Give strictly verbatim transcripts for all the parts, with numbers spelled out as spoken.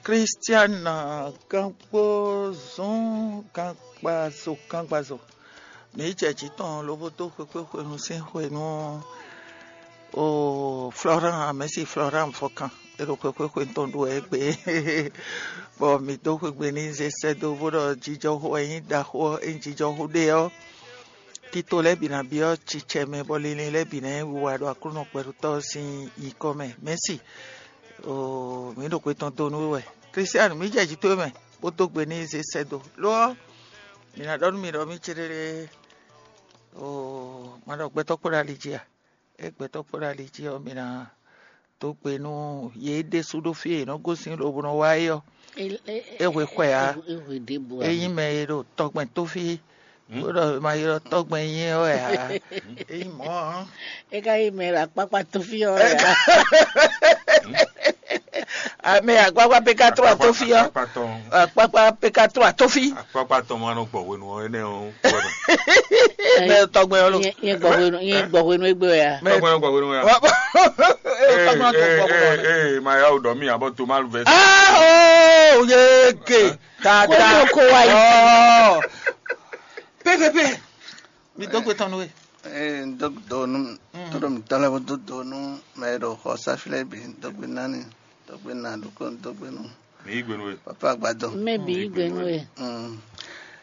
Kristiana Gangbo zɔn gangbazo gangbazo. Mǐ jɛ jǐ tɔn lobo dó xwekpéxwenu sín xwenu o Florent, mɛ̌si Florent Fɔkan. É ɖo xwekpéxwenu tɔn ɖu wɛ égbé. Bɔ mǐ dó xwegbe n'i zé sɛ́ dó bó ɖɔ jijɔxo wɛ nyí ɖaxó ɔ́, é nyí jijɔxo ɖé ɔ́, tito lɛ́ɛ bǐ ná byɔ́ cicɛ mɛ, bɔ linlin lɛ́ɛ bǐ ná nyí wiwa ɖo Aklúnɔ kpɛɖutɔ́ ɔ́ sín nyǐkɔ mɛ. Mɛ̌si, oo, mǐ ɖo xwe tɔn dó nú we wɛ. Kristianu, mǐ jɛ jǐ towe mɛ, bó dó gbe n'i zé sɛ́ dó. Lo ɔ́, mǐ ná ɖɔ nú mi ɖɔ mì céɖéɖé, oo, ma ɖɔ gbɛtɔ́ kpó ɖo ali jí a? É gbɛtɔ́ kpó ɖo ali jí ɔ́, mǐ ná dó gbe nú yě ɖésú ɖó fí e yě nɔ gosín lobo nɔ wá é ɔ́. É hwe xwɛ ǎ. É nyí mɛ e ɖo tɔgbɛn tó fí, bó ɖɔ ma ylɔ́ tɔgbɛn nyí ɔ́ wɛ ǎ. É nyí mɔ̌ ɔ́. É ka nyí mɛ e ɖo akpákpá tó fí ɔ́ wɛ ǎ. Amɛ akpákpá pé ká tó ató fí ɔ́. Akpákpá tɔn. Akpákpá pé ká tó ató fí. Akpákpá tɔn ma nɔ gbɔ hwenu ɔ́ énɛ́ ɔ́. Mɛ tɔgbɛn ɔ́ lo. Nyɛ gbɔ hwenu, nyɛ gbɔ hwenu égbé wɛ ya. Tɔgbɛn ɔ́ gbɔ hwenu ya. Tɔgbɛn ɔ́ gbɔ hwenu. Ee, ma ya o dɔ mi abɔ to ma lu vɛ. Ah, oh, yege. Ta ta. Ko wa yi. Oh. P P P. Mi dó gbe tɔn nú we. Ee, n dó do nú, mm, todo mi tɔn lɛ bó dó do nú mɛ e ɖo xɔ sáfí lɛ́ɛ bǐ, n dó gbe nani, n dó gbe na ɖokpó, n dó gbe nú. Mi yí gbe nú we. Papa agbadɔ. Mɛ bǐ yí gbe nú we. Mm.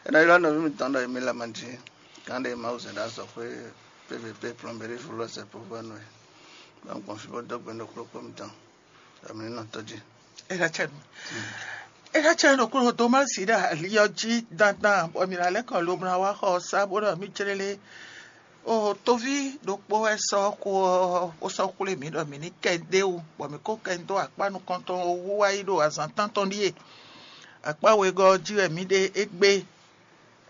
Ena ylɔ́ nɔví mitɔn ɖɔ Emile Amadzi, gán ɖé Mawu zɛ ɖo azɔ̌xwé P V P plɔmbéri fúlɔ́ sɛ povɔ́nu e. Ba gbɔn fí bó dó gbe nú kplɔ́kplɔ́ mitɔn. Amǐ nɔ tɔ́ jí. Eɖa cɛ nú. Eɖa cɛ nú kúrò Tomasi ɖo ali ɔ́ jí dandan, bɔ mǐ ná lɛ́ kɔ lobo ná wá xɔ ɔ́ sá bó ɖɔ mì clélé. O toví ɖokpó wɛ sɔ́ xó ɔ́, bó sɔ́ xwlé mǐ ɖɔ mǐ ní kɛ ɖ'é wú, bɔ mǐ kó kɛ dó akpá nukɔntɔn wú wá yi ɖo azǎn tántɔn ɖíe. Akpá wegɔ́ ɔ́ jí wɛ mǐ ɖe égbé.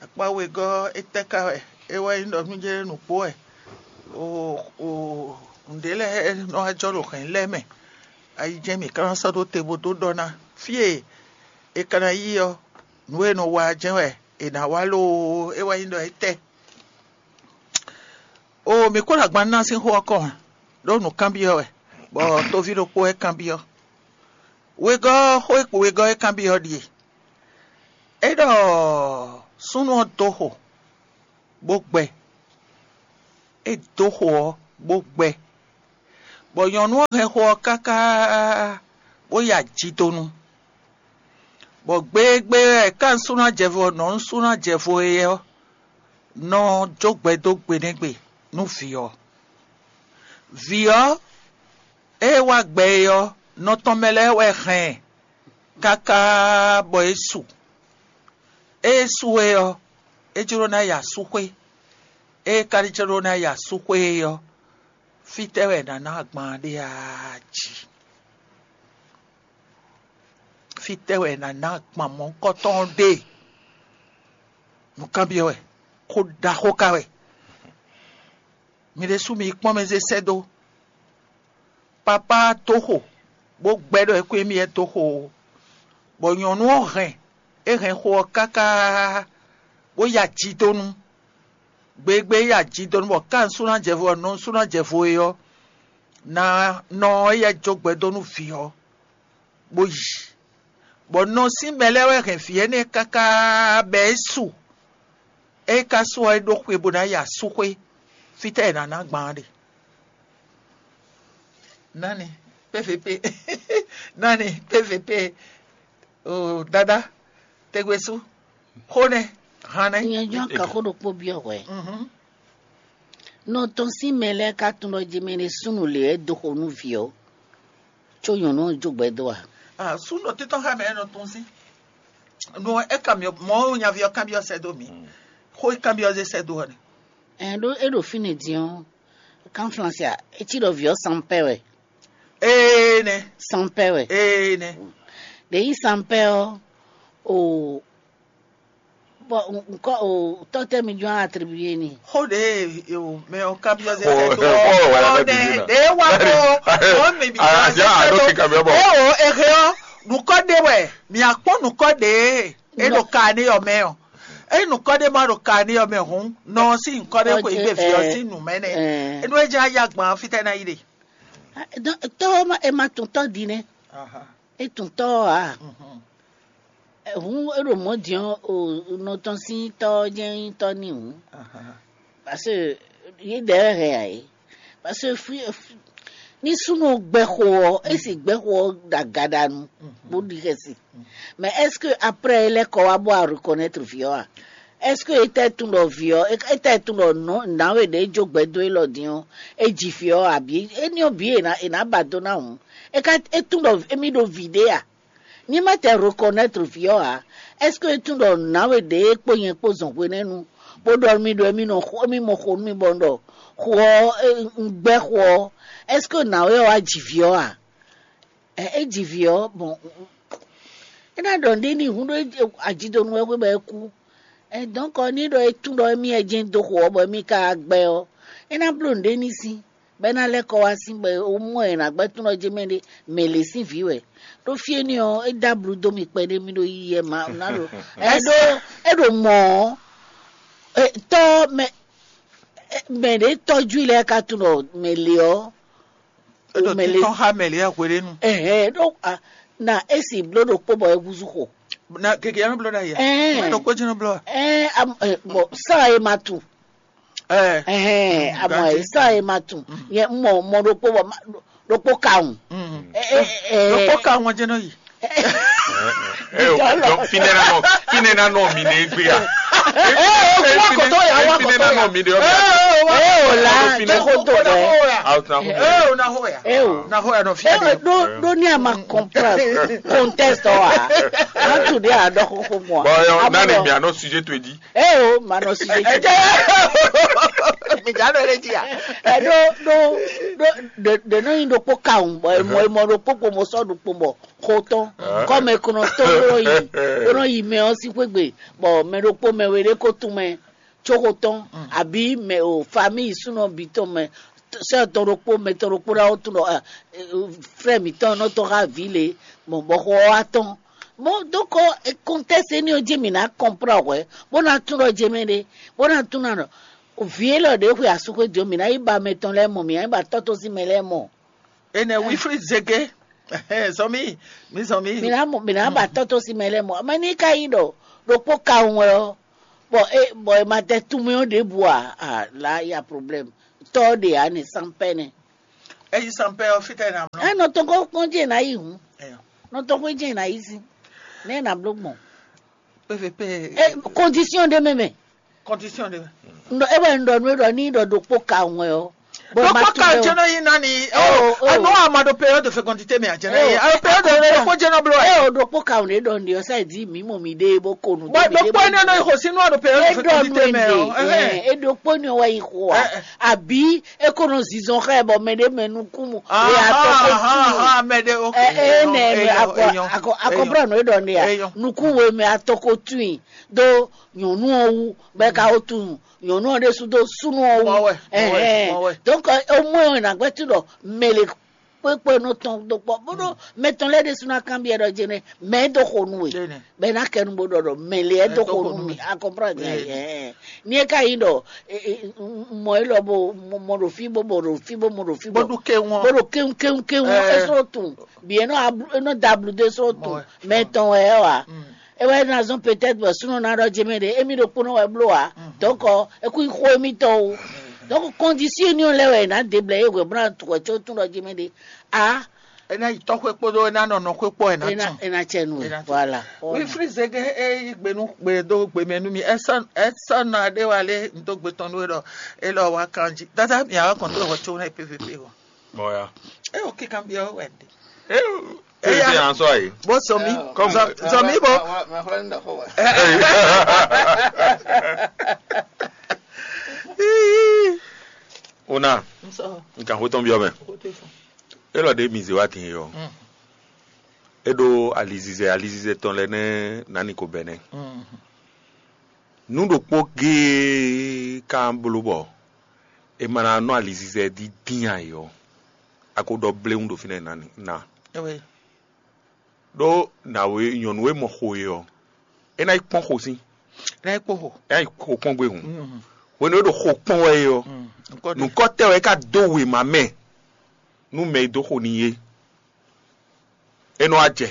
Akpá wegɔ́ ɔ́, étɛ́ ka wɛ? É wɛ nyí ɖɔ nú jɛ́n nǔgbó wɛ. O o nǔɖé lɛ́ɛ nɔ wá jɔ ɖo hɛ̌n lɛ́ɛ mɛ. Ayi jɛ́n mǐ ka ná sɔ́ ɖó te bó dó ɖɔ ná. Fí e è ka ná yí ɔ́, nǔ e è nɔ wa ɔ́ jɛ́n wɛ è nǎ wa loo, é wɛ nyí ɖɔ étɛ́? O mǐ kó ɖo agban ná sín xó ɔ́ kɔn ǎ, ɖó nǔ kanbyɔ́ wɛ, bɔ toví ɖokpó wɛ kanbyɔ́. Wegɔ́ xó e wegɔ́ e kanbyɔ́ ɖíe: É ɖɔ súnnu ɔ́ dó xo, bó gbɛ. É dó xo ɔ́, bó gbɛ, bɔ nyɔ̌nu ɔ́ hɛn xo ɔ́ káká, bó ya jidonu. Bɔ gbegbé wɛ ká nǔsúnnú jɛvo ɔ́ nɔ nǔsúnnú jɛvo e ɔ́ nɔ jó gbɛ dó gbe nɛ́ gbe nú vǐ ɔ́. Vǐ ɔ́, ée wá gbɛ é ɔ́, nɔ tɔn mɛ lɛ́ɛ wɛ hɛn ɛ káká bɔ é su. Ée é su é ɔ́, é jló ná yi asúxwé. Ée é ka jló ná yi asúxwé é ɔ́, fítɛ́ wɛ è nǎ ná agban ɖé a jí? Fítɛ́ wɛ è nǎ ná agban mɔ̌hunkɔtɔn ɔ́ ɖe? Nǔkanbyɔ́ wɛ, xó ɖaxó ka wɛ. Mi ɖésú mi yi kpɔ́n mɛ zé sɛ́ dó. Papá dó xo, bó gbɛ́ ɖɔ é kú émí wɛ dó xo ó. Bɔ nyɔ̌nu ɔ́ hɛn, é hɛn xo ɔ́ káká, bó ya jidonu. Gbegbé ya jidonu bɔ ká nǔsúnnú jɛvo ɔ́, nɔ nǔsúnnú jɛvo é ɔ́, ná nɔ éyɛ́ jó gbɛ dó nú vǐ ɔ́, bó yi. Bɔ nɔ sín mɛ lɛ́ɛ wɛ hɛn vǐ énɛ́ káká bɔ é su. É ka su ɔ́, é ɖó xwe bó ná yi asúxwé. Fítɛ́ è nǎ ná gbǎn ɖe? Nani? P V P. Nani? P V P. O dada, tegbe sú. Xó nɛ́, han nɛ́. Nyɛ jɔ́n ka xó ɖokpó byɔ́ hwɛ. Mhm. Nɔ tɔn sín mɛ lɛ́ɛ ka tunwun ɖɔ jemɛɖé súnnu lě wɛ dó xo nú vǐ ɔ́, có nyɔ̌nu ɔ́ jó gbɛ dó a? Ah, súnnu títɔn xá mɛ nɔ tɔn sín. No, é kanbyɔ́, mɔ̌ nyaví ɔ́ kanbyɔ́ sɛ́ dó mì. Xó é kanbyɔ́ zé sɛ́ dó ɔ́ nɛ. Ɛn ɖó é ɖo fínɛ́ din ɔ́, kan Flansé a, é cí ɖɔ vǐ ɔ́ sanpɛ́ wɛ. Ee nɛ. Sanpɛ́ wɛ. Ee nɛ. Ɖě yí sanpɛ́ ɔ́, o bɔ nkɔ o tɔtɛ mi jɔn atribuye ni. Xó ɖe o mɛ o kanbyɔ́ zé sɛ́ dó ɔ́. Xó wala bɛ bibi na. Ɖe wa ko o mi bi zé sɛ́ dó. Ɛ o ehe ɔ nukɔ ɖe wɛ mi akpɔ nukɔ ɖe e ɖo ka ne yɔ mɛ ɔ. Eyi nukɔ ɖe ma ɖo ka ne yɔ mɛ hun nɔ si nkɔ ɖe ko igbe vi ɔ si nu mɛ nɛ. Enu e dza ya gban fitɛ na yi ɖe. Tɔwɔ ma e ma tun tɔ di nɛ. É tún tɔ́ ɔ́ ǎ. Hǔn é ɖo mɔ̌ din ɔ́, o nɔ tɔn sín tɔ́ ɔ́ jɛ́n nyí tɔ́ n'i hǔn. Parce que yě dɛ wɛ hɛn ǎ é. Parce que fí ní súnnu gbɛxo ɔ́, é sì gbɛxo ɔ́ ɖo agaɖanu bó ɖi xɛsi. Mais est-ce que après é lɛ́ kɔ wá bó wá reconnaître vǐ ɔ́ a? Est-ce que é tɛ tunwun ɖɔ vǐ ɔ́, é tɛ tunwun ɖɔ nɔ̌ nǎwe ɖě jó gbɛ dó élɔ́ din ɔ́, é ji vǐ ɔ́ abǐ? Éní ɔ́ bǐ è nǎ è nǎ ba dó ná hǔn. É ka é tunwun ɖɔ émí ɖo vǐ ɖé a? Ní ma tɛ reconnaître vǐ ɔ́ ǎ, est-ce que é tunwun ɖɔ nǎwe ɖě kpó nyɛ kpó zɔn hwenɛ́nu, bó ɖɔ nú mì ɖɔ émí nɔ xo émí mɔ xo nú mì bɔ un ɖɔ xo ɔ́ un gbɛ́ xo ɔ́, est-ce que nǎwe ɔ́ wá ji vǐ ɔ́ a? Ɛ é ji vǐ ɔ́, bɔn é ná ɖɔ nǔɖé n'i hǔn ɖó ajidonu wɛ xwé bɔ é kú. Ɛ dɔ̌nkɔ ní ɖɔ é tunwun ɖɔ émí wɛ jɛ́n dó xo ɔ́, bɔ émí ka wá gbɛ́ ɔ́, é ná bló nǔɖé n'i sín. Bɔ é ná lɛ́ kɔ wá sín bɔ é mɔ ɛ nǎ gbɛ́ túnɔ jɛ mɛ ɖé mɛ lě sín vǐ wɛ. Ɖó fí énɛ́ ɔ́, é dó ablu dó mì kpɛɖé mì ɖo yiyi ɛ ma ná ɖo é ɖó é ɖo mɔ̌ ɔ́, tɔ́ mɛ mɛ ɖě tɔ́jú lɛ́ɛ ka tunɔ mɛ lě ɔ́. É ɖo mɛ lě títɔn xá mɛ lě ɛ hweɖénu. Ɛhɛn ɖó na é si bló ɖokpó bɔ é húzú xo. Na keke ya nɔ bló ɖa ya. Ɛhɛn. Mɛ ɖokpó jí nɔ bló wa. Ɛhɛn, bɔn sá e ma tu. Ɛhɛn, amɔ e sá e ma tu. Nyɛ mɔ mɔ ɖokpó bɔ ɖokpó kawun. Ɖokpó kawun ɔ́ jɛ́n nɔ yi. Finɛ na nɔ finɛ na nɔ mi ne egbe ya. Ee o wa kɔtɔ ya wa kɔtɔ ya. Mi ne na nɔ mi de ɔbɛ. Ee o la jẹ ko to bɛ. Aw tun na ko. Ee o na ho ya. Ee o na ho ya nɔ fi. Ee o do do ni a ma comprendre contexte wa. An tu de a dɔ ko ko mɔ. Bon yo nani mi anɔ sujet to edi. Ee o ma nɔ sujet to edi. Mi ja nɔ ele ji ya. Ɛ do do do de de nɔ yin ɖokpó kawun bɔ emɔ emɔ ɖokpó kpo mo sɔ ɖokpó bɔ xo tɔn kɔmɛ kɔnɔ tɔn bó nɔ yi bó nɔ yi mɛ ɔ́ sín xwé gbe bɔ mɛ ɖokpó mɛ we ɖé ko tún mɛ tso xo tɔn abi mɛ o famille súnɔ bi tɔn mɛ sɛ tɔn ɖokpó mɛ tɔn ɖokpó ɖa wó tún ɖɔ frɛ mǐtɔn nɔ tɔn xá vǐ lě mɔ bɔ xɔ ɔ́ wá tɔn. Bon donc contexte énɛ́ ɔ́ jí mǐ ná kɔnplɔ́n hwɛ̌ bó ná tún ɖɔ jɛ mɛ ɖé bó ná tún ná ɖɔ vǐ élɔ́ ɖě xwe asúxwé dó mǐ ná yi ba mɛ tɔn lɛ́ɛ mɔ mǐ ná yi ba tɔ́ tɔn sín mɛ lɛ́ɛ mɔ. Enɛ Wilfried Zege. Sɔ mí, mí sɔ mí. Mǐ ná mɔ mǐ ná ba tɔ́ tɔn sín mɛ lɛ́ɛ mɔ mɛ ní ká yi ɖɔ ɖokpó kawun wɛ ɔ́ bɔ é bɔ è ma tɛ tunmɛ ɔ́ ɖěbǔ ǎ ǎ là ya problème tɔ́ ɔ́ ɖe ǎ nɛ sanpɛ́ nɛ. Eyi sanpɛ́ ɔ́ fítɛ́ ná mlɔ́. Ɛ nɔ tɔn kó kpɔ́n jẹ́ ná yi hǔn. Nɔ tɔn kó jẹ́ ná yi sí nɛ ná bló gbɔn. Pvp. Condition ɖé mɛ mɛ. Condition ɖé mɛ. Ŋdɔ ewɛ ŋdɔ nu eɖɔ ní ɖɔ ɖokpó ka ŋwɛ ɔ. Ɖokpó ka jɛnɛ yi nani. Ɔ ɔ nɔ ama ɖo période de fécondité mɛ a jɛnɛ yi. Alo période de ɖokpó jɛnɛ blo ɛ. Ɛ o ɖokpó ka ŋwɛ ɖɔ ndi ɔsa di mi mɔ mi ɖe bo ko nu. Bɔn ɖokpó ɛnɛ nɔ yi xɔ sínú àɖo période de fécondité mɛ ɔ. Ɛ ɖokpó ni wɔ yi xɔ a. Àbí e ko nɔ zizɔn xɛ bɔ mɛ ɖe mɛ nukún mu. E atɔ ko tún. Mɛ ɖe ok. Ɛ ɛ nɛ mɛ akɔ akɔ akɔ brɔ nɔ e ɖɔ ne ya. Nukún wo mɛ atɔ ko tún. Do nyɔ̌nu ɔ́ wú bɔ é ka wó tunwun nyɔ̌nu ɔ́ ɖésú dó súnnu ɔ́ wú. Mɔ wɛ, mɔ wɛ, mɔ wɛ. Donc ó mɔ ɛ nǎ gbɛ́ tí ɖɔ mɛ lě kpékpé nɔ tɔn dó kpɔ́ bónú mɛ tɔn lɛ́ɛ ɖésú ná kanbyɔ́ ɖɔ jɛnɛ mɛ é dó xo nú we. Bɛ ná kɛ nu bó ɖɔ ɖɔ mɛ lě é dó xo nú mi. A comprendre? Ni é ka nyí ɖɔ mɔ élɔ́ bó mɔ ɖo fí bó mɔ ɖo fí bó mɔ ɖo fí bó ɖo kéwɔn bó ɖo kéwɔn kéwɔn kéwɔn é sɔ́ tunwun. Bì é nɔ da ablu dó é sɔ́ tunwun mɛ tɔn wɛ é wa. É wɛ ná zɔ́n peut-être bɔ súnɔ ná ɖɔ jɛ mɛ ɖe émí ɖokpónɔ wɛ bló ǎ. Donc é kú nyí xó émítɔn o. Donc condition éní ɔ́ lɛ́ wɛ è nǎ dě blɛ é hwɛ bó ná tu wɛ có tún ɖɔ jɛ mɛ ɖe. A é ná yi tɔ́xwé kpódó é ná nɔ nɔxwé kpó ɛ ná tún. É ná cɛ nu é. Voilà. Wífrí zege é yí gbe nú gbe dó gbe mɛ nú mi. Ɛ sɔ́ ɛ sɔ́ nɔ aɖé wa lé n dó gbe tɔn nú é ɖɔ é lɔ wá kan jí. Dada mi àwa kɔn tó wɔ có ná pvp o. Mɔya. É o kíkan bí ọ wɛ dé. Ezi ansɔ ayi. Bó sɔmi. Kɔmi. Sɔmi bó. Ona. Nka xotɔn biɔ mɛ. Elɔ de mi ze wa tin yɔ. Eɖo alizizɛ alizizɛ tɔn lɛ nɛ nani ko bɛnɛ. Nu ɖokpó gee kan bló bɔ e ma ná nɔ alizizɛ dídín ayɔ. A ko ɖɔ bléwún ɖo fínɛ́ ná. Ɖó nǎwe nyɔ̌nu e mɔ xo e ɔ́, é ná yi kpɔ́n xo sín. É ná yi kpɔ́n xo. É ná yi xo kpɔ́n gbé hǔn. Hwenu e ɖo xo kpɔ́n wɛ é ɔ́, nǔkɔtɛ́ wɛ é ka dó wěma mɛ nú mɛ e dó xo n'i é. É nɔ wá jɛ.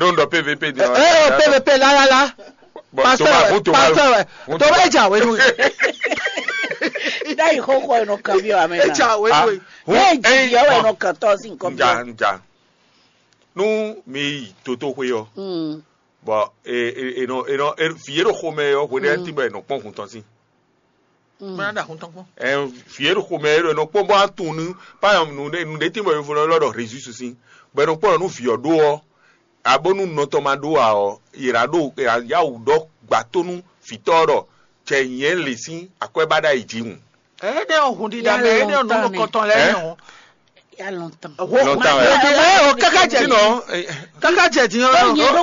Ɖó un ɖɔ P V P din ɔ́. Ɛ ɛ P V P lálálá. Bon, pastor Thomas, wɛ, hun Thomas, pastor wɛ. Hun Thomas Thomas. Eja wenu. Ɖayi xɔxɔ eno kan bi wa mɛ. Eja wenu. Ah, wɛ. Hun, ne ji eh, yɔ wɛ bon. No kan tɔ si nkɔ bi. Nja, nja. Nu mi yi toto xwe yɔ. Mm. Bon, e e e nɔ e nɔ e, fi e ɖo xomɛ yɔ hwe ɖe ti bɛ nɔ kpɔn hun tɔn si. Bana da hun tɔn kpɔn. Ɛ, fi e ɖo xomɛ e ɖo nɔ kpɔn bɔ atun nu pa nu ɖe nu ɖe ti bɔ yovó lɔ ɖɔ résus si. Bɛ nɔ kpɔn nu vi ɔ ɖo ɔ. Abonu nɔtɔn ma ɖó ǎ ɔ́, yě ná ɖo yá wǔ ɖɔ gbǎtónu vǐtɔ́ ɖɔ cɛ nyɛ lě sín akwɛ́ ba ɖ'ayǐ jí hǔn. Éɖé ɔ́, hun ɖiɖa mɛ, éɖé ɔ́, nǔ nukɔntɔn lɛ́ɛ nɔ. Ya lɔntɔn. Lɔntɔn wɛ. Ɛ o kaka jɛ. Sinon, eh, kaka jɛ din ɔ́.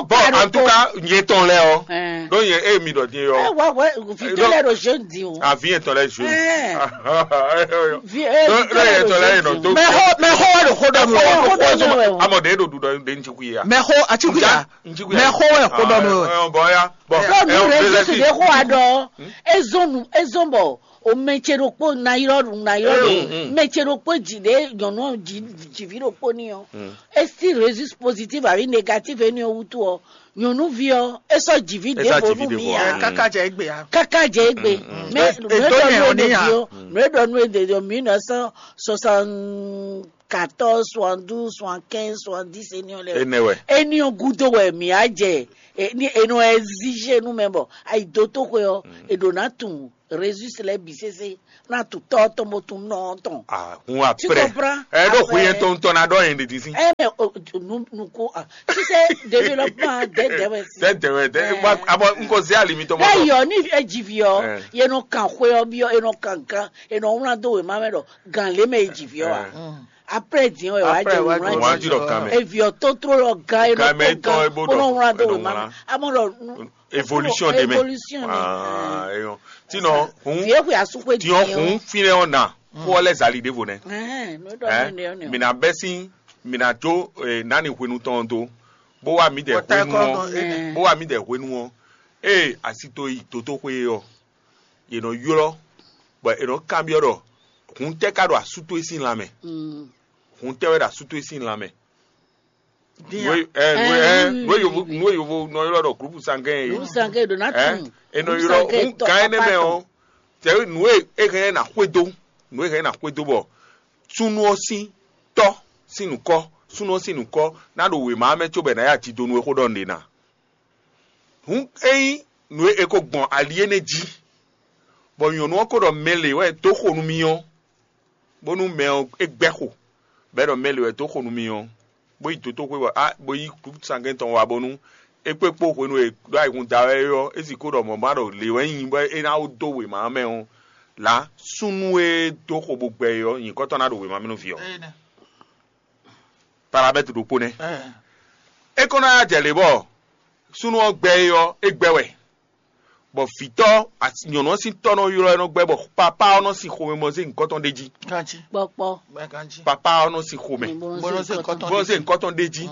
Bɔn en tout cas, nyɛ tɔn lɛ ɔ. Ɛn. Ɖó nyɛ e mi ɖɔ din yɔ. Ɛ wá wɛ vito lɛ ɖo jeune din o. Avi yɛn tɔn lɛ jeune. Ɛn. Ɖó yɛ tɔn lɛ yɛ nɔ tó. Mɛ xɔ mɛ xɔ wɛ ɖo xɔ dɔ mi wɛ. Xɔ dɔ mi wɛ o. Amɔ ɖe ɖo ɖuɖɔ ɖe ŋtsi kui ya. Mɛ xɔ ati kui ya. Mɛ xɔ wɛ xɔ dɔ mi wɛ. Bɔn ya bɔn. Ɖo nu rɛ jesu de xɔ wa ɖɔ. Ezɔn nu ezɔn bɔ o mɛ ce ɖokpó na yrɔ nu na yrɔ nu mɛ ce ɖokpó ji ɖe nyɔnu ɔ ji jivi ɖokpó ni ɔ esi résus positif avi négatif eni ɔ wutu ɔ nyɔnuvi ɔ esɔ jivi ɖe vo nu mi ya. Kaka jɛ egbe ya. Kaka jɛ egbe. Mais nue ɖɔ nu ede dio nue ɖɔ nu ede dio mille neuf cent soixante quatorze soixante douze soixante quinze soixante dix eni ɔ lɛ. Ene wɛ. Eni ɔ gudo wɛ mi a jɛ. Eni enɔ exige nu mɛ bɔ ayi do to xwe ɔ eɖo na tun résus lɛ bi sese na tun tɔ tɔn mo tun nɔ tɔn. Ah, hun après. Ɛ ɖo hu yɛn tɔn tɔn na ɖɔ yɛn ɖe disi. Ɛ mɛ o nu nu ko ah tu sais développement dɛ dɛ wɛ si. Dɛ dɛ wɛ dɛ wa abɔ n ko se ali mi tɔmɔ. Ɛ yɔ ni ɛ jivi ɔ yɛ nɔ kan xwe ɔ bi ɔ yɛ nɔ kan gan yɛ nɔ wlan do wɛ ma mɛ ɖɔ gan lé mɛ yɛ jivi ɔ wa. Après diɛ wɛ wa jɛ wlan. Wa ji ɖɔ kan mɛ. Evi ɔ totro lɔ gan yɛ nɔ to gan kó nɔ wlan do wɛ ma mɛ amɔ ɖɔ. Évolution de mɛ. Évolution de mɛ. Ah, eyɔn. Tinɔ hun. Vie xwe asu xwe diɔ. Tinɔ hun finɛ ɔ na. Kó ɔlɛ zali de vo nɛ. Ɛhɛn, no dɔ ne ne ne. Mina bɛsi mina jo eh, nani hwenu tɔn do. Bó wa mi dɛ hwenu ɔ. Bó wa mi dɛ hwenu ɔ. Ee asito yi toto xwe ɔ. Ye nɔ ylɔ. Bɔ e nɔ kanbiɔ ɖɔ. Hun tɛ ka ɖo asu to e sin lan mɛ. Hun tɛ wɛ ɖo asu to e sin lan mɛ. Nue- eh, nue- eh, nue yovo nue yovo nɔ ylɔ ɖɔ groupe sanguin ye. Groupe sanguin ɖo na tun. Enɔ ylɔ n gan ene mɛ o. Tɛ nue e hɛn na xwedo. Nue hɛn na xwedo bɔ sunu ɔ sin tɔ sin nukɔ sunu ɔ sin nukɔ na ɖo wema mɛ tso bɛ na ya ti do nu e xo ɖɔ nɖe na. Hun eyin nue e ko gbɔn ali ene jí. Bɔ nyɔnu ɔ ko ɖɔ mɛ le wɛ do xo nu mi ɔ. Bónú mɛ ɔ́ é gbɛ́ xo, bɔ é ɖɔ mɛ lě wɛ dó xo nú mì ɔ́, bó yi dotóxwé wɛ á bó yí sangɛ́ntɔn wá bónú é kpé kpó hwenu e ɖó ayihún da wɛ é ɔ́, é sixú ɖɔ mɔ̌ ma ɖɔ lě wɛ nyí bɔ é ná dó wěma ɔ́ mɛ ɔ́, lǎ súnnu e dó xo bó gbɛ é ɔ́, nyǐkɔ tɔn ná ɖo wěma mɛ nú vǐ ɔ́. Paramètre ɖokpó nɛ́. É kɔn ná jɛ lě bɔ súnnu ɔ́ gbɛ é ɔ́, é gbɛ wɛ. Bɔ vǐtɔ́ nyɔ̌nu ɔ́ sín tɔ́ nɔ ylɔ́ ɛ nɔ gbɛ́ bɔ papá ɔ́ nɔ sin xomɛ bɔ zé nyǐkɔ tɔn ɖ'é jí. Kanjí. Kpɔkpɔ. Bɛ kanjí. Papá ɔ́ nɔ sin xomɛ. Bɔ nɔ sin kɔtɔn. Bɔ zé nyǐkɔ tɔn ɖ'é jí.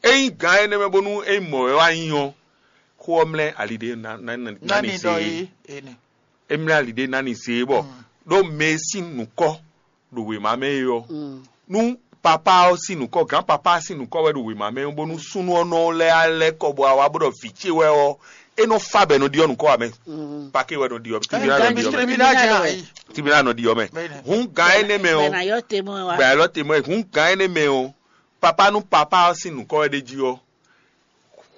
Ényí gǎn énɛ́ mɛ bónú é mɔ wɛ wá nyí ɔ́, xó ɔ́ mlɛ́ ali ɖé ná ná ná ní se é. É mlɛ́ ali ɖé ná ní se é bɔ ɖó mɛ e sín nǔkɔ ɖo wěma mɛ é ɔ́, nú papá ɔ́ sín nǔkɔ, gǎn papá ɔ́ sín nǔkɔ wɛ ɖo wěma mɛ ɔ́, bónú súnnu ɔ́ nɔ lɛ́ alɛ́ kɔ bɔ awa bó ɖɔ vǐ ce wɛ ɔ́, é nɔ fa bɔ è nɔ ɖiɔ nǔkɔ ǎ mɛ. Pake wɛ nɔ ɖiɔ, tribunal nɔ ɖiɔ mɛ. Tribunal nɔ ɖiɔ mɛ. Hǔn gǎn énɛ́ mɛ ɔ́, gbɛ alɔ te mɔ ɛ, hǔn gǎn énɛ́ mɛ ɔ́, papá nú papá ɔ́ sín nǔkɔ wɛ ɖ'é jí ɔ́,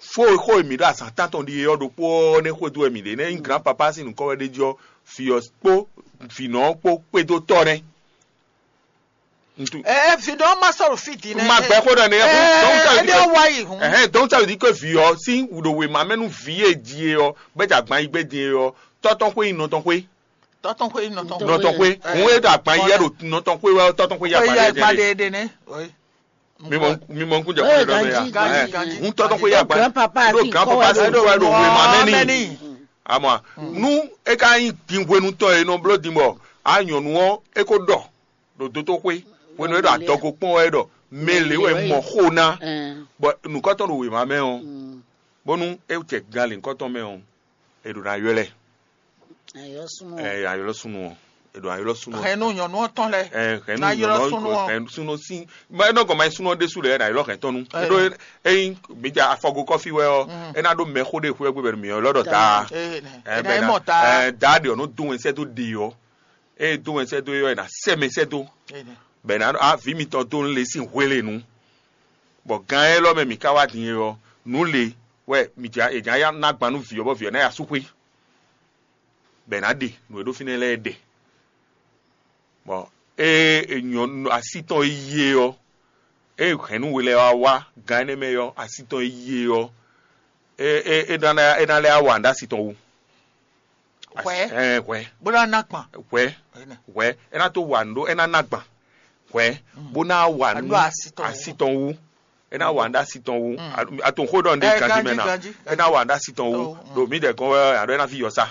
Fó e xó e mǐ ɖo azǎn tántɔn ɖi é ɔ́ ɖokpó ɔ́ nɛ́ xwedó wɛ mǐ ɖe nɛ́ nyí gran papá sín nǔkɔn wɛ ɖ'é jí ɔ́, vǐ ɔ́ kpó vǐnɔ ɔ́ kpó kpédó tɔ́ nɛ́. Ntu. Ɛ vǐ ɖɔ ma sɔ́ ɖo fí din nɛ́. Ma gbɛ xó ɖɔ nɛ́. Ɛ ɛ ɖɔ wá yi hǔn. Ɛhɛn, donc ça veut dire que vǐ ɔ́ sín ɖo wěma mɛ nú vǐ e ji e ɔ́, bɛ́ jɛ agban yi gbé din e ɔ́, tɔ́ tɔn xwé nyí nɔ tɔn xwé. Tɔ́ tɔn xwé nyí nɔ tɔn. Nɔ tɔn xwé. Hǔn e ɖo agban yi yɛ ɖo nɔ tɔn xwé wɛ ɔ́, tɔ́ tɔn xwé yí agban yɛ ɖe. Mi mɔ mi mɔ nkúnjɛ kúnlẹ̀ lọ́mọ ya. Ganji, ganji. Ń tɔ́ tɔ́ xwé ya gba. Grand papa ɖo sí grand kɔ́ papa wɛ sí ɖo kɔ́ wɛ ɖo wema mɛ ní. Amɔ nú é ka nyí din hwenu tɔn e nɔ bló din bɔ a nyɔ̌nu ɔ́ é ko ɖɔ ɖo dótó xwé hwenu e ɖo adɔgo kpɔn wɛ ɖɔ mɛ lě wɛ mɔ xó ná bɔ nǔkɔtɔn ɖo wema mɛ ɔ́ bónú é jɛ gan lě nukɔtɔn mɛ ɔ́ è ɖo ná ylɔ́ ɛ. Ayɔ́súnú. Ɛ ayɔ́ súnú ɔ́, è ɖo ayɔ́ súnú ɔ́. Hɛn nú nyɔ̌nu ɔ́ tɔn lɛ́ɛ. Ɛ hɛn nú ná ylɔ́ nyɔ̌nu súnú ɔ́. Hɛn súnú sín. Mɛ nɔ gɔmɛ súnú ɔ́ ɖésú lɛ ɛ ɖo ayɔ́ hɛn tɔn nu. Ɛ. Ɖó eyin mi ja afɔgo kɔfí wɛ ɔ́, é ná ɖó mɛ xó ɖé xwé gbé bɛnu mi ɔ́ lɔ́ ɖɔ daa. Ɛ ná mɔ daa. Ɛ daa ɖe ɔ́ nɔ dó wɛn sɛ́ dó ɖe ɔ́. Eye dó wɛn sɛ́ dó é ɔ́, è nǎ sɛ mɛ sɛ́ dó. Bɛ ná ɖɔ aví mitɔn dó nú le sín hwelenu. Bɔ gan élɔ́ mɛ mǐ ka wá din é ɔ́, nǔ le wɛ mǐ jǎ è jǎ ná gban nú vǐ ɔ́ bɔ vǐ ɔ́ ná ya sú xwé. Bɔ è nǎ ɖe nǔ e ɖó fínɛ́ lɛ́ɛ ɖɛ. Bɔ ée è nyɔ así tɔn e yí é ɔ́, ée hɛ̌nnu we lɛ́ɛ wá wá gan énɛ́ mɛ ɔ́, así tɔn e yí é ɔ́, é é é ná é ná lɛ́ wá wa nǔ ɖó así tɔn wú. Hwɛ. Ɛɛ hwɛ. Bó ná ná kpan. Hwɛ. Hwɛ é ná tó wa nǔ ɖó é ná ná gban. Hwɛ bó ná wa nǔ asi tɔn wú. É ná wa nǔ asi tɔn wú. Atonxó ɖɔ nɖé ganjí mɛ ná. É ná wa nǔ asi tɔn wú. Ɖo mǐ ɖɛ gɔn wɛ aɖɔ é ná fi yɔ sá.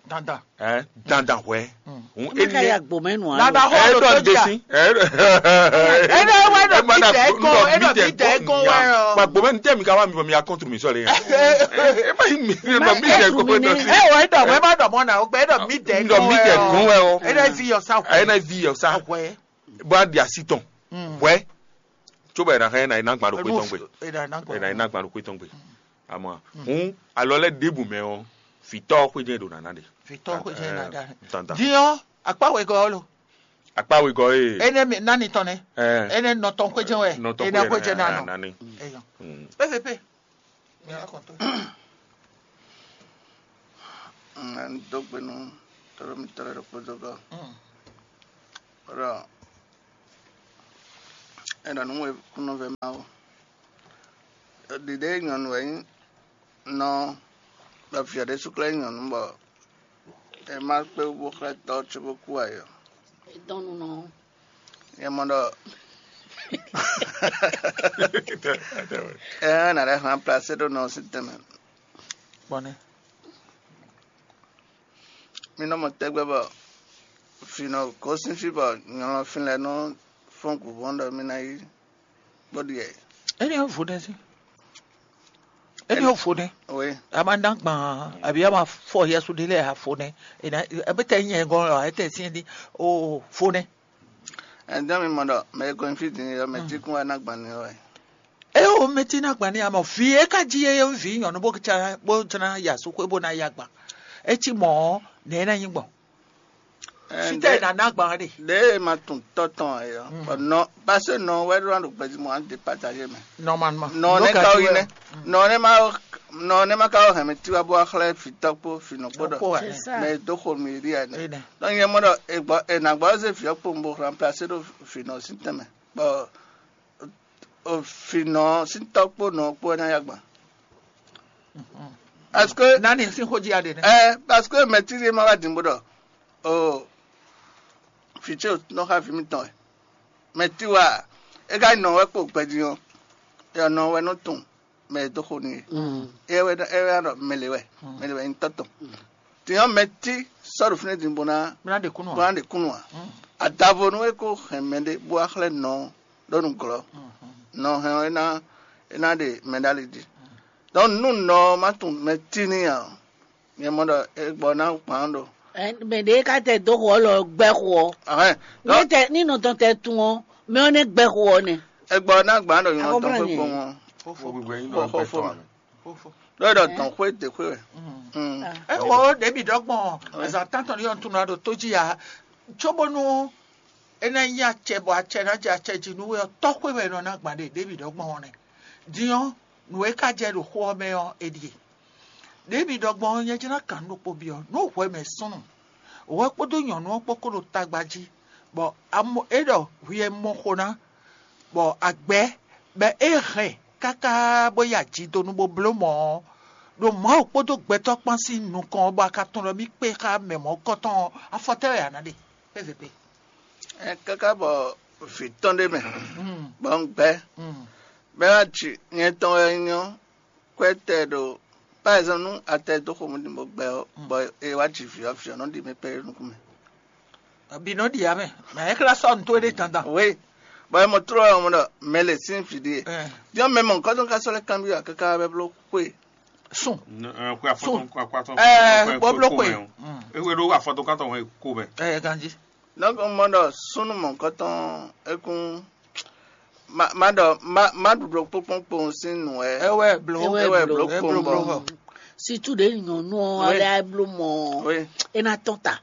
Dandan. Ɛ dandan hwɛ. Hun é ní ka ya gbomɛ nù alo. Nada xɔ ɛ ɖo ɖɔ tó nɖé jà. Sí. Ɛ Ɛ ɖɔ wɛ ɖɔ mí dɛ gɔn ɛ ɖɔ mí dɛ gɔn wɛ ɔ. Gba gbomɛ ní tẹ́ mi ka wá mi bɔ mi ya kɔntru mi sɔle. Ɛ má yi mi bɔ mí dɛ gɔn wɛ. Ɛ wɔ ɛ ɖɔ mɛ má ɖɔ mɔ na o gbɛ ɛ ɖɔ mí dɛ gɔn wɛ ɔ. Ɛ ɖɔ vi yɔ sa. Ɛ na vi yɔ sa. Wɛ. Bó a di asi tɔn. Wɛ. Tso bɔ ɛ na xɛ ɛ na yi na gba ɖo kpé tɔn gbe. Ɛ na yi na gba ɖo kpé tɔn gbe. Amɔ hun alɔ lɛ ɖebu mɛ ɔ vitɔ xwedze ɖo nana ɖe. Vitɔ xwedze na ɖa. Dandan. Diɔ akpa wegɔ lo. Akpa wegɔ ye. Ene mi nani tɔn ne. Ene nɔtɔn xwedze wɛ. Nɔtɔn ene xwedze na nɔ. Nani. Eyo. Pvp. Mi akɔntɔ. N dó gbe nú tɔɖɔ mi tɔɖɔ ɖokpó dó gɔ. Rɔ ena nú we kúnɔ vɛ Mawu. Ɖiɖe nyɔ̌nu wɛ nyí nɔ bɔ via ɖé súklɛ́ nyɔ̌nu bɔ è má kpé wú bó xlɛ́ tɔ́ cóbó kú ǎ é ɔ́. È dɔn nú nɔ. Nyɛ mɔ ɖɔ ɛ nà ɖe hlan plasé ɖó nɔ sín tɛnmɛ. Kpɔnɛ. Mi nɔ mɔ tɛgbɛ bɔ fǐ nɔ gosín fí bɔ nyɔlɔnfin lɛ́ɛ nɔ fɔ́n gǔvɔ́n ɖɔ mì ná yi bó ɖi ɛ. Éní ɔ́ vo nɛ́ sí. Éní ɔ́ vo nɛ́. Oui. A ma ná gbɔn àbí a ma fɔ yɛsu ɖé lɛ́ɛ a vo nɛ́. Ena ebe tɛ nyɛ gɔn ɔ ete si di o vo nɛ́. Ɛdɛn mi mɔ ɖɔ mɛ e gɔn fí din ɔ mɛ tí kún wa ná gbɔn ni ɔ. E o mɛ tí ná gbɔn ni a mɔ vi e ka jí e vi nyɔnu bó tsana bó tsana yasu xwé bó ná ya gbɔn. E cí mɔ ɔ nɛ e ná nyí gbɔn. Fítɛ́ è nǎ ná gbǎn ɖe? Ɖěe ma tunwun tɔ́ tɔn ǎ é ɔ́, bɔ nɔ pasé nɔ wɛ ɖó ná ɖo gbɛjimɔ ǎ dé pataje mɛ. Normalement. Nɔ nɛ ka wí nɛ. Nɔ nɛ ma nɔ nɛ ma ka wɔ hɛn mi tiwa bó wá xlɛ́ fǐtɔ́ kpó fǐnɔ kpó ɖɔ. Mɛ e dó xo mi ɖi ɛ nɛ. Donc nyɛ mɔ ɖɔ è gbɔ è nǎ gbɔ zé fǐ ɔ́ kpo un bo remplacer ɖo fǐnɔ sín tɛnmɛ. Bɔ fǐnɔ sín tɔ́ kpó nɔ kpó wɛ ná yá gbɔn. Parce que nani sín xó jí aɖe nɛ. Ɛ parce que mɛ tí ɖé ma wá dǐn bó ɖɔ o fìtsé o nɔ xa vǐ mitɔn wɛ. Mɛ tí wa é ka nɔ wɛ kpo gbɛjí ɔ́, é nɔ wɛ nɔ tunwun mɛ e dó xo n'i é. É wɛ é wɛ ɖɔ mɛ lě wɛ mɛ lě wɛ nyí tɔ́ tɔn. Tìnyɔ́ mɛ tí sɔ́ ɖo fínɛ́ din bó ná Bó ná ɖe kúnnu ǎ. Bó ná ɖe kúnnu ǎ. Adavo nú é kó hɛn mɛɖé bó wá xlɛ́ nɔ ɔ́ ɖó nǔglɔ́. Nɔ hɛn ɔ́ é ná é ná ɖe mɛ ɖó ali jí. Donc nú nɔ ɔ́ má tunwun mɛ tí n'i ǎ ɔ́, nyɛ mɔ ɖɔ é gbɔ ná gbǎn ɖo. Mɛ ɖě ka tɛ dó xo ɔ́ lɔ gbɛ́ xo ɔ́. Ahɛn. Ní tɛ ní nɔ tɔn tɛ tun ɔ́, mɛ ɔ́ nɛ́ gbɛ́ xo ɔ́ nɛ. É gbɔ ná gbǎn ɖo nyɔ̌ tɔn xwé kpowun ɔ́. Xóxó mɛ. Ɖó é ɖɔ dɔn xwé dě xwé wɛ. Ɛ wo ɖebi ɖɔ gbɔn azan tantɔn ni yɔn tunu ado tó jí ya tso bónú é ná nyí acɛ bɔ acɛ ná jɛ acɛ jí nú wé ɔ́ tɔ́ xwé wɛ nɔ ná gbǎn ɖe ɖebi ɖɔ gbɔn ɔ́ nɛ. Din ɔ́ Nǔ e ka jɛ ɖo xó ɔ́ mɛ ɔ́, è ɖíe. Ɖěe mi ɖɔ gbɔn ɔ́, nyɛ jlá kan nú ɖokpó byɔ́ nú hwɛ mɛ súnnu, hwɛ kpódó nyɔ̌nu ɔ́ kpó kó ɖo tagba jí, bɔ é ɖɔ hwi e mɔ xo ná, bɔ agbɛ̌ bɔ é hɛn káká bó yi aji donu bó bló mɔ̌ ɔ́, ɖo Mawu kpódó gbɛtɔ́ kpán sín nukɔn ɔ́, bɔ a ka tunwun ɖɔ mì kpé xá mɛ mɔ̌kɔtɔn ɔ́, afɔ tɛ́ wɛ a nǎ ɖe? Pé zě pé. Ɛ, káká bɔ vǐ tɔn ɖé mɛ, bɔ un gbɛ́, bɔ é wá ji nyɛ tɔn wɛ nyí ɔ́, kwɛ́ tɛ ɖo, par exemple, nú a tɛ dó xomɛ ɖi bɔ gbɛ ɔ́, bɔ è wá ji vǐ ɔ́, vǐ ɔ́ nɔ ɖi mɛ kpɛɖé nukún mɛ. Bǐ nɔ ɖi ǎ mɛ, mɛ é xlɛ́ sɔ́ nǔ towe ɖé dandan. Oui, bɔ é mɔ tló ɔ́, mɔ ɖɔ mɛ lě sín vǐ ɖíe. Ɛ. Diɔ mɛ mɔ̌hunkɔtɔn ka sɔ́ lɛ́ kanbyɔ́ ǎ káká bɔ é bló xwe. Sùn. Xwe afɔtɔn, xwe akpatɔn, ɛ, xwe bɔ bló xwe. Xwe ɖó afɔtɔn kátɔn wɛ ko mɛ. Ɛ, ganjí. Donc un mɔ ɖɔ súnnu mɔ̌hunkɔtɔn é kún má má ɖɔ má má ɖuɖɔ kpókpókpó sín nǔ wɛ. Ɛ wɛ bló. Ɛ wɛ bló kpó bɔ. Situ ɖe nyɔnu ɔ́, oui, lɛ bló mɔ. Oui. É ná tɔn ta.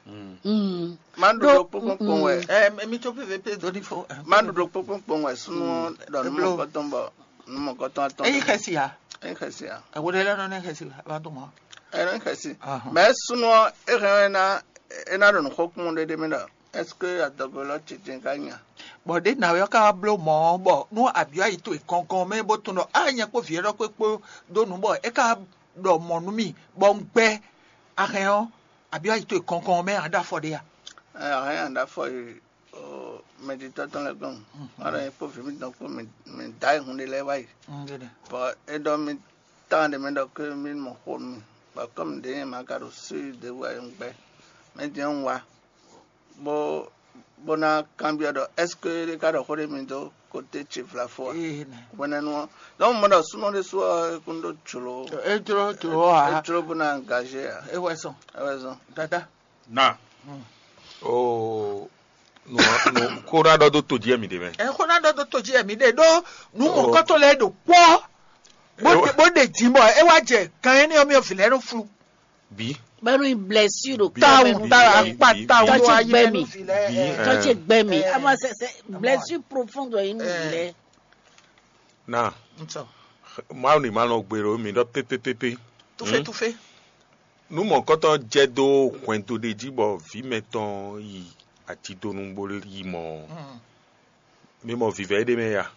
Mm. Má ɖuɖɔ kpókpókpó wɛ. Ɛ, mi tó pépé pé dó ní fo. Má ɖuɖɔ kpókpókpó wɛ súnnu ɖɔ nú mɔ̌hunkɔtɔn bɔ nú mɔ̌hunkɔtɔn atɔn. Eyi xɛsi ya. Eyi xɛsi ya. Ɛwɔ ɖe lɛ nɔ ne xɛsi la, va dɔn mɔ. Ɛ, ne xɛsi. Mɛ súnnu ɔ́, é hɛn ɔ́, é ná é ná ɖo nǔ xo kpɔ́n ɖéɖé mɛ ɖɔ est-ce que adɔgo lɔ titɛn ka nya? Bɔ ɖě nǎwe ɔ́ ka wá bló mɔ̌ ɔ́, bɔ nú abyɔ́ ayi towe gɔngɔn mɛ bó tunwun ɖɔ á nyɛ kpó vǐ élɔ́ kpé kpó dó nǔ, bɔ é ka ɖɔ mɔ̌ nú mì, bɔ un gbɛ́ ahɛn ɔ́, abyɔ́ ayi towe gɔngɔn mɛ ǎ ɖo afɔ ɖé a? Ɛ, ahɛn ǎ ɖo afɔ yi o mɛditɔ́ tɔn lɛ́ɛ gɔ́n. Má ɖɔ nyɛ kpó vǐ mitɔn kpó mì dǎ yi hun ɖé lɛ́ɛ wá yi. Bɔ é ɖɔ mì tán ɖé mɛ ɖɔ ké mì mɔ xo nú mì, bɔ kɔ́ mì ɖě nyɛ ma ka ɖo sú yi ɖěbǔ ǎ, un gbɛ́. Mɛ din ɔ́, un wá bó bó ná kanbyɔ́ ɖɔ est-ce que é ɖé ka ɖɔ xó ɖé mi dó kóté ce vlafo a? Hwenɛ́nu ɔ́, donc mɔ ɖɔ súnɔ ɖésú ɔ́, é kún ɖó jlǒ. É jló jlǒ ǎ. É jló bó ná engagé ǎ. É wɛ zɔn. É wɛ zɔn. Dada. Na. Oo, nú nú kó ná ɖɔ dó to jí ɛmì ɖé mɛ. Ɛ xó ná ɖɔ dó to jí ɛmì ɖé ɖó nú mɔ̌kɔtɔn lɛ́ɛ ɖo kpɔ́ bó ɖe bó ɖe jǐ bɔ é wá jɛ kan énɛ́ ɔ́ mì ɔ́ vǐ lɛ́ɛ nɔ flu. Bí. Bɛnu blessure ɖo Bí. Tawu tawu akpa tawu Tɔn ló ce ayé gbɛ mɛ mi. Nú vǐ lɛ́ɛ. Bí. Tɔn ce gbɛ mi. Ɛ. Ama sɛ sɛ blessure profonde wɛ yín nú vǐ lɛ. Na. Ntɔ. Mawu ni ma nɔ gbe ɖo mi ɖɔ pépépépé. Tufe tufe. Nú mɔ̌kɔtɔn jɛ dó hwɛndo ɖé jí bɔ vǐ mɛtɔn yi atidonu bó yi mɔ. Mi mɔ vǐvɛ́ ɖé mɛ ya.